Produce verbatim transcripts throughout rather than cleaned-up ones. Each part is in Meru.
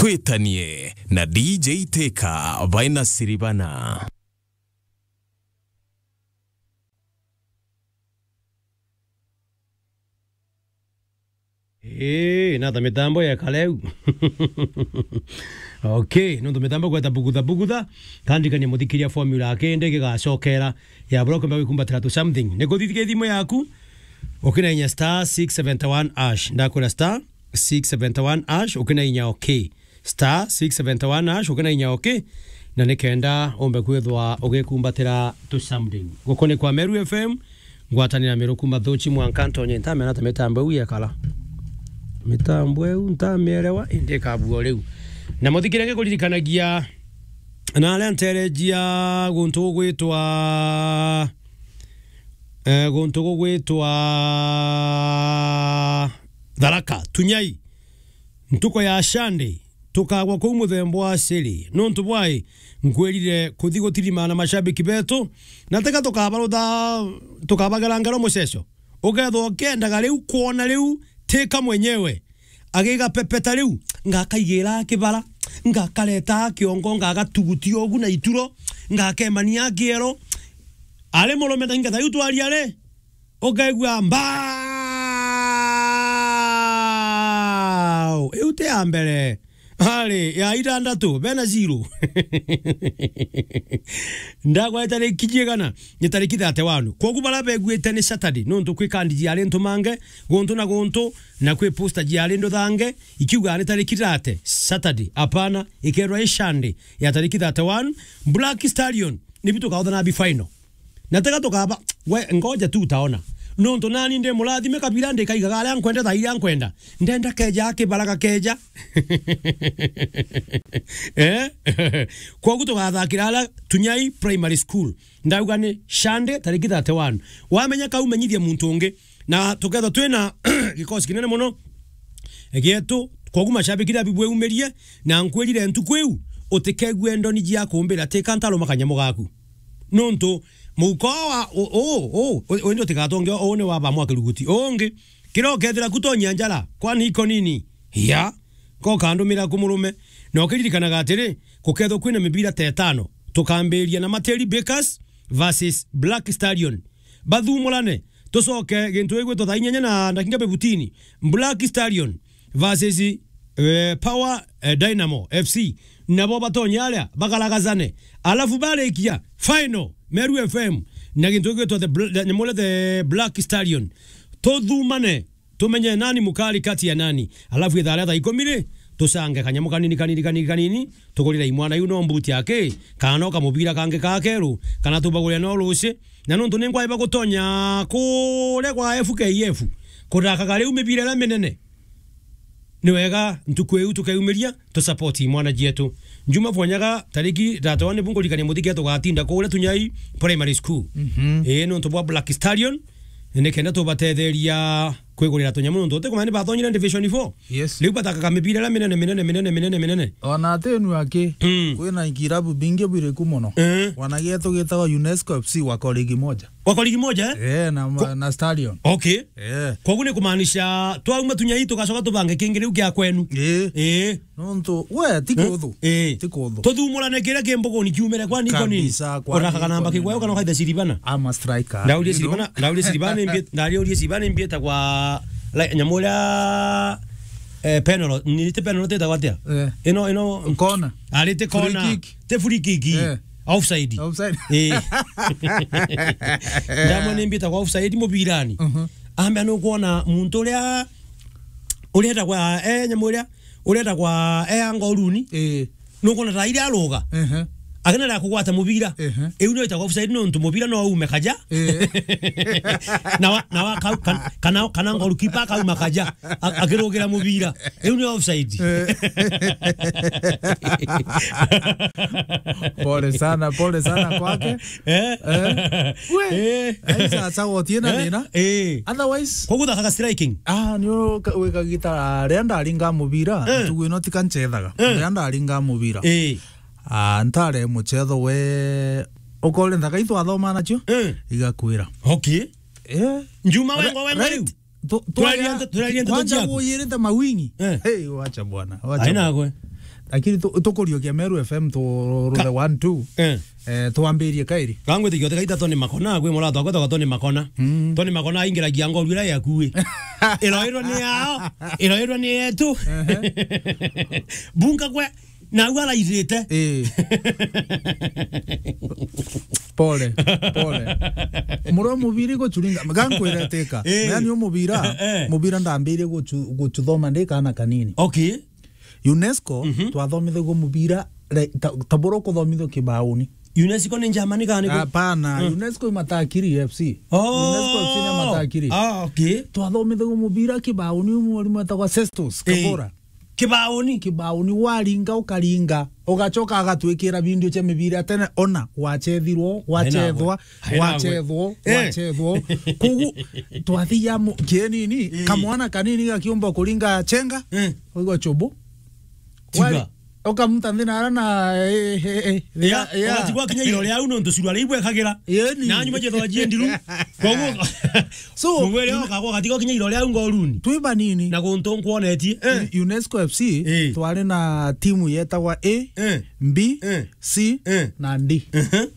Twitanie na D J Teka baina Siribana. Ii, nata mitambo yeka riu? Okay, nontu mitambo gweta bugutha bugutha, kandikania muthikiria formula akindi gigacokera ya bura ukwenda gwikumbatira tu something. Ni kuthithikia thimu yaku, ukinainya star six seventy one hash. Ndakwira star six seventy one hash, ukinainya okay. Star six seventy one hash, ukinainya okay. Na nikenda umbe kwithwa ugikumbatira tu something. Guku ni kwa Meru F M, ngwatanira Meru kuma Thuchi mwanka ntonye ntamena ta mitambo iu yekara. Mitambo iu ntamielewa, indi ikabua riu. Na muthikire ngikuririkanagia na aria nterejia guntu gugwitwa, eh, guntu gugwitwa Tharaka, Tunyai. Ntuko ya Sunday, tukagwa kuu muthemba wa Siri. Nontu bwai, nkwirire kuthi gutirima na mashabiki betu, na teka tukabarutha, tukabagera ngero muceco. Ukethwa ukiendaga riu kwona riu, Teka mwenyewe agigapepeta riu, ngakaigira kibara, ngakareta kiongo, ngagatugutia ugu na ituro, ngakemania kiero. Ari murume ta ingeta iu twaria ri, ukaigua mbao. Iu ti ya mbere. Ari ya itandatu, bena zero. Ndagwa itariki jiigana? Ni tariki thirty-one. Kwogu bara beguite ni Saturday, nontu kwi kandi jiari ntumange, guntu na guntu, na kwi poster jiari nduthange, ikiuga ni tariki thirty, Saturday. Apana, ikerwa i Sunday ya tariki thirty-one. Black Stallion, nibi tukaothana bi final. Na tega tukaba, we, ngoja tu utaona. Nontu nani ndi murathime kabira ndikaigaga aria nkwenda thaa iria nkwenda. Ndenda keja akibaraga keja. Eh? Kwogu tugathakira aria Tunyai Primary School. Ndauga ni Sunday tariki thirty-one. Wamenya kau menyithia muntu ungi. Na tukethwa twina gikosi kinene mono gietu, kwogu mashabiki na bibweumirie, na nkwirire ntuku iu utikegue ndoni jia kumbira Teka ntaruma kanyamo gaku. Nontu muhuko wa u-, u-, u-, u-, undi utigatonge, uu ni wa bamwa kiruguti. Ungi, kiria ukethira kutonyia njara, kwani iko nini? Ya, ko kandumira ku murume. Na ukiririkanaga atiri, gukethwa kwina mibira ta itano, tukambiria na Materi Bakers versus Black Stallion. Bathumurane, tucoke gintu gigwitwa thaa inyanya na ndakika fifteen, Black Stallion versus, eh, Power, eh, Dynamo F C. Nabo batonye aria, bagaragazane. Alafu barikia, final, Meru F M, na gintu gigwitwa the Bl-, the, nyamule the Black Stallion. Tuthumane, tumenye nani mukari kati ya nani. Alafu ithaa ria thaa ikumi ri, tucange kanyamu kanini, kanini, kanini, kanini, tugurire imwana iu no mbuti aki, kana no kamubira kangi ka keru, kana tubagurire no ruci. Na nontu ni ngwaiba gutonya kuria kwa F K F, kudakaga riu mibira iria minene, ni wega ntuku iu tukeumiria, tu support imwana jietu. Njuma bwanyaga tariki thirty-one nibu ngurikania muthiki tugatinda kuria Tunyai Primary School. Mhm. Ii, nontu bwa Black Stallion, nikenda tubatetheria kwigurira tunyamu, nontu utikumenya ni bathonyire Division four. Yes. Riu batakaga mibira iria minene, minene, minene, minene, minene. Ona atinu aki, mm, kwina ikirabu bingi biriku mono. Eh. Wanagia tugitaga UNESCO F C wako ligi moja. Wako ligi moja, eh? Eh, na, na Stallion. Okay. Eh. Kwogu ni kumaanisha twauma Tunyai tugacoka tubange kingi riu kia kwenu. Eh. Eh. Nontu, we, ti kuthu. Eh. Ti kuthu. Tuthumurane kiria ki mbuguni kiumire kwa niko nini? Kabisa, kwa ona niko kana namba nini? Kigwayo kana kaitha Siribana. I'm a striker. Ndaurie, you know? Siribana, ndaurie Siribana imbi-, ndaurie Siribana imbieta kwa, like, nyamu iria, eh, penalty, ni ti penalty itagwa atia? Eh. Ino, ino. Kona. Ari ti kona. Free kick. Ti free kick. Eh. Offside. Offside. Eh. Ndamwe ni mbieta kwa offside mubirani. Mhm. Ambia nukwona muntu uria, uria etagwa, eh, nyamu iria, uria etagwa, eh, anga uruni. Eh. Nukwona ta iria aruga. Ehe. Akenera kugwata mubira. Ehe. Iu nio itagwa offside nontu mubira no ume kaja. Eh. Na wa, na wa kau-, kan-, kana, kana goalkeeper akauma kaja. A-, akirugira mubira. Iu ni offside. Eh. Pole sana, pole sana kwake. Eh? Eh. We. Eh. Ai, sasa wotie na thina. Eh. Otherwise. Koguo thakaga striking. Ah, ni wika gita ria ndaringa mubira. Eh. Ntugu ino tika nchethaga. Eh. Ria ndaringa mubira. Eh. Ah, ntare muchetho we. Ukore ntaka itwathoma nacio. Eh. Igakwira. Okay. Eh. Njuma wengo wengo riu. Tu-, turaria twaria, nte-, turaria nteto kwanza ciaku. Wuyirite mawingi. Eh. Hey, wacha bwana, wacha. Aina bwana. Gwe. Lakini tu-, tukuriokia Meru F M tu-, ruthe one two. Eh. Eh, twambirie kairi. Kangwitikia uti kaita Tony Makona, kwi murata wakwa etagwa Tony Makona. Mm. Tony Makona aingiragia ngoru iria yakui. Iroirwo ni yao, iroirwo ni yetu. Ehe. Bunga kwe, na au arairite. Eh. Pole, pole. Muro mubiri guchuringa, gankwira teka. Eh. Yani umubira, eh, mubira ndambirie guchu-, guchuthoma ndi kana kanini. Okay. UNESCO, mhm, twathomithagua mubira, re-, ta, ta bura ukuthomithua kibauni. UNESCO ni Germany kana ni ku? Hapana, mm, UNESCO imatakiri F C. Oh. UNESCO F C ni matakiri. Ah, okay. Twathomithagua mubira kibauni, mwarimu etagwa Sestus, eh, Kabora. Kibauni? Kibauni, waringa, ukaringa. Ugacoka agatwikira video cia mibira ya tene, ona, gwacethirwo, gwacethwa, gwacethwo, eh, gwacethwo. Kogu, twathiaga mu-, kienini, eh, kamwana kanini gakiumba kuringa chenga, eh, uigwa chubu. Tiga. Wari, ukamuta nthi na ara na, eh, eh, eh, ya, ya, ya. Ugatigwa kinya irore au nontu cirwa riu bwekagira. Ĩni. Na nyuma jethwa jie ndiru. Koguo, so, mugwere okagwa ugatigwa kinya irore au ngoruni. Twi banini. Na guntu nkwonetie. Eh. U-, UNESCO F C, eh, twari na timu yetagwa A, eh, B, eh, C, eh, na D. Ehe.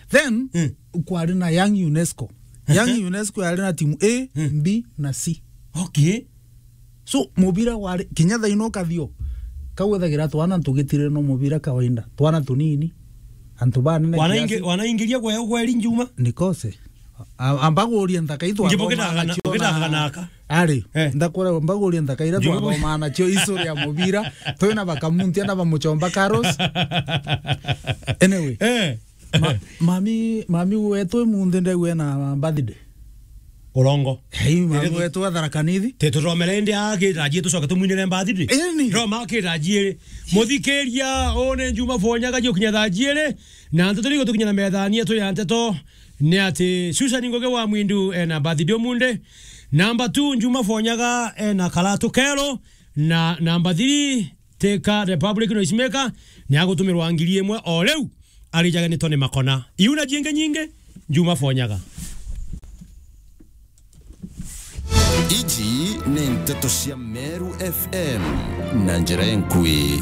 Then, mm, kwari na Young UNESCO. Young UNESCO yari na timu A, mm, B, na C. Okay. So, mubira wari, kinya thaino kathio, kau ethagira twana tugitire no mubira kawaida. Twana tunini. Antu banene kiasi. Wanaingi-, wanaingiria gwe ugweri njuma? Nikose. A-, amba guria nthaka itwa. Ngibo thoma gitagana, nacio gitagana na aka. Ari, eh, ndakura amba guria nthaka ira twathoma nacio history ya mubira. Twina bakamuntia na bamuchomba Carlos. Anyway. Eh. Ma-, mami, mami wetu imunthi ndegwe na birthday. Urongo. Hei, mami wetu wa Tharaka Nithi. Te tuthomere indi akirajie tucoke tumwinire birthday. Ĩni. Roma akirajie. Muthikiria, one Njuma Fonyaga jukinya thaa jiiri. Na nteto ni gutukinya na methania tu ya nteto. Ni ati Susan Ngugi wa Mwindu ena birthday umunthi. Number two, Njuma Fonyaga ena karatu kero. Na number three, Teka Republic Noisemaker ni agutumirwa ngiri imwe o riu, arijage ni Tony Makona. Iu na jingi nyingi, Njuma Fonyaga. Iji ni nteto cia Meru F M na njira enkui.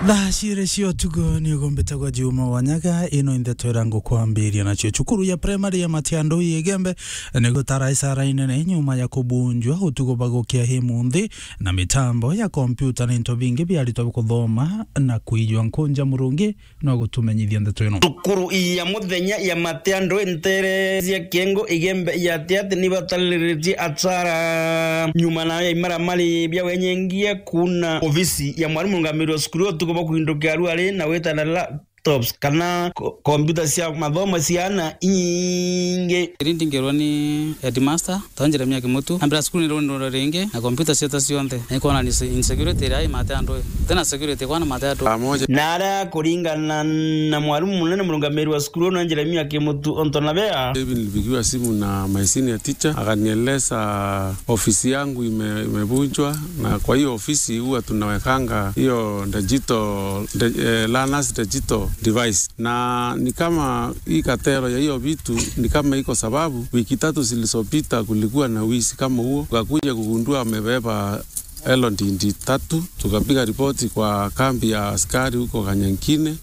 Thaa ciiri cia utuku ni ugumbite gwa Juma Wanyaga, ino i nteto iria ngukwambiria nacio. Cukuru ya primary ya Matiandu Igembe ni gutara isara inene nyuma ya kubunjwa utuku bagukia hi munthi na mitambo ya kompyuta na into bingi bia aritwa kuthoma na kuijwa nkunja. Murungi no gutumenyithia ndeto ino. Cukuru ya muthenya ya Matiandu ntere cia Kiengo Igembe ya Tiati ni batariritie asara nyuma nayo ya imaramari bia wenyengia kuna ofisi ya mwarimu rungamiri wa cukuru utuku bwa kuindukia aruari na witana la laptops kana ko-, kompyuta cia mathomo cia ana inyingi. Iri ndingerwa ni headmaster, twa Jeremia Kimutu, ambira cukuru ni rundura ringi na kompyuta ciota cionthe. Na ikwona ni se-, insecurity iria i Matiandu. Tena security kwana Matiandu. Pamoja. Na aria kuringana na mwarimu munene murungamiri wa cukuru na Jeremia Kimutu Ontonabea. Hivi nilipigiwa simu na my senior teacher, akanieleza ofisi yangu ime-, imevunjwa, na kwa hiyo ofisi huwa tunawekanga hiyo digital, de-, eh, learners digital device. Na ni kama hii katero ya hiyo vitu ni kama iko sababu, wiki tatu zilizopita kulikuwa na wizi kama huo, tukakuja kugundua amebeba elo ndindi tatu, tukapiga ripoti kwa kambi ya askari huko Kanyankine,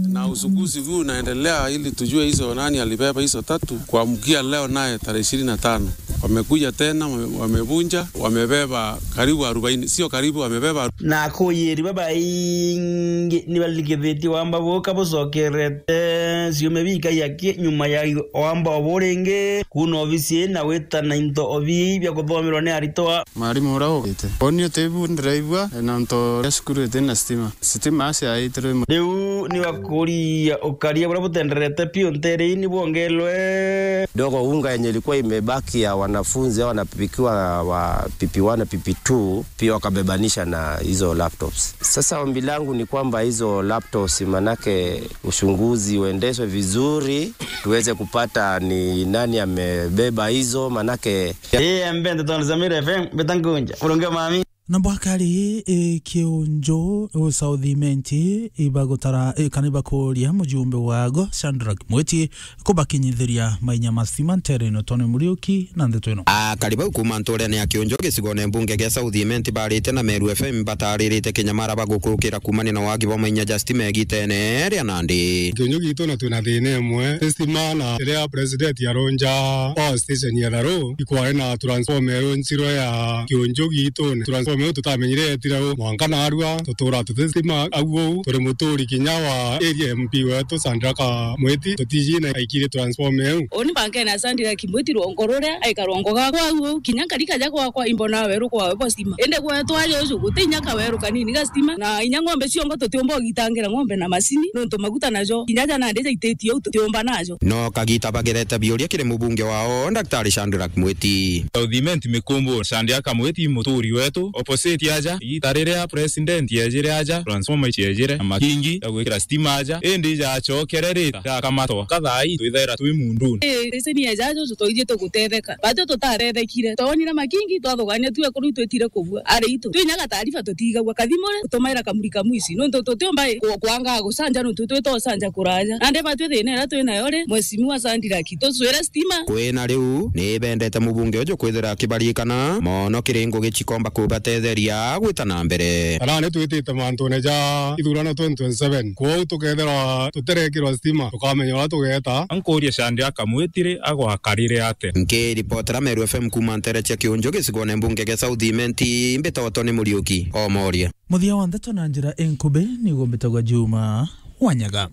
na uchunguzi huu unaendelea ili tujue hizo nani alibeba hizo tatu. Kuamkia leo naye tarehe ishirini na tano, wamekuja tena, wame-, wamevunja, wamebeba karibu arobaini, sio karibu, wamebeba. Na akuyiri babaingi ni balikithitie wamba buka bucokerete ciume bikaiaki nyuma ya wamba obu ringi kuna ofisi na wita na into obi bia kuthomerwa ni aritwa. Mwarimu uria ugite. Oni utibu ndiraigua, na nto ya cukuru iti na stima. Stima aciaitirwe. Riu ni bakuria ukaria buria butenderete piu ntere-ini bwongerwe. Dogo unga yenye ilikuwa imebaki ya wanafunzi au wanapipikiwa wa P P one na P P two, pia wakabebanisha na hizo laptops. Sasa ombi langu ni kwamba hizo laptops, manake uchunguzi uendeshwe vizuri, tuweze kupata ni nani amebeba hizo, manake. Eh, mbende tondu Samira F M, mbeta nkunja. Murungi mami. Na bwakari, e, Kiunju, u South Imenti, ibagutara, e, kana ibakuria mujumbe wago, Shadrack Mwiti, kubakinyithiria mainya ma stima ntere ino. Tony Muriuki na ndeto ino. Akari bau kuuma nturene ya Kiunju gicigone mbunge gia South Imenti barite na Meru F M bataririte kinyamara bagukurukira kuumania na wagi bwa mainya ja stima igitene ria nandi. Kiunju gitu na twina thina imwe, stima na riria president aronja power station ya Tharu, ikwari na transformer irunjirwe ya Kiunju gitu. Transformer iu tutamenyire yetire u, mwanka narua tutura tuti stima au uu. Turi muturi kinya wa area M P wetu Sandraka Mwiti, tutiji na aikire transformer iu. Uni bankena Sandraka Mwiti rwongo ruria aika rwongo gakwa au uu, kinya nkarika ja gwakwa imbona weru kwawe bwa stima. Indi gwetu aja uju guti inya kaweru kanini ga stima, na inya ng'ombe ciongo tutiumba ugitangira ng'ombe na macini, nontu maguta najo kinya ja nandi jaititie u tutiumba najo. No kagita bagerete biuria kiri mubunge wao, Daktari Shadrack Mwiti. South Imenti Mikumbu, Sandraka Mwiti, muturi wetu, opposite aja, igita riria president ejire aja, transformer iciejire, na makingi ya gwikira stima aja, indi jacokere rita, jakamatwa. Kathaai, twithaira twi munduni. Ii, station ya jajo, twaithie tugutetheka. Batwi tutarethekire. Twonire makingi, twathugania tu ekuru twitire kubua. Ari itu. Twinya gataarifa tutigagua. Kathimure, tumaira kamuri kamwici. Nontu tutiumba ku-, kwanga gucanja, nontu twita ucanja kuraja. Nandi batwi thina iria twinayo ri, mheshimiwa Sandrack, tucwire stima. Kwina riu, ni bendete mubunge uju kwithira akibarikana mono kiri ngugi cikomba kubatetheria gwita na mbere. Arani twitite mantune ja ithurano twenty twenty-seven. Kwou tukethirwa tuterekirwa stima, tukamenya uria tugeta. Nkuria Sandraka Mwiti ri agwakarire ate? Nkiripotera Meru F M kuuma ntere cia Kiunju gicigone mbunge gia South Imenti, mbitagwa Tony Muriuki, Omoria. Muthia wa ndeto na njira inkubi niguo mbitagwa Juma Wanyaga.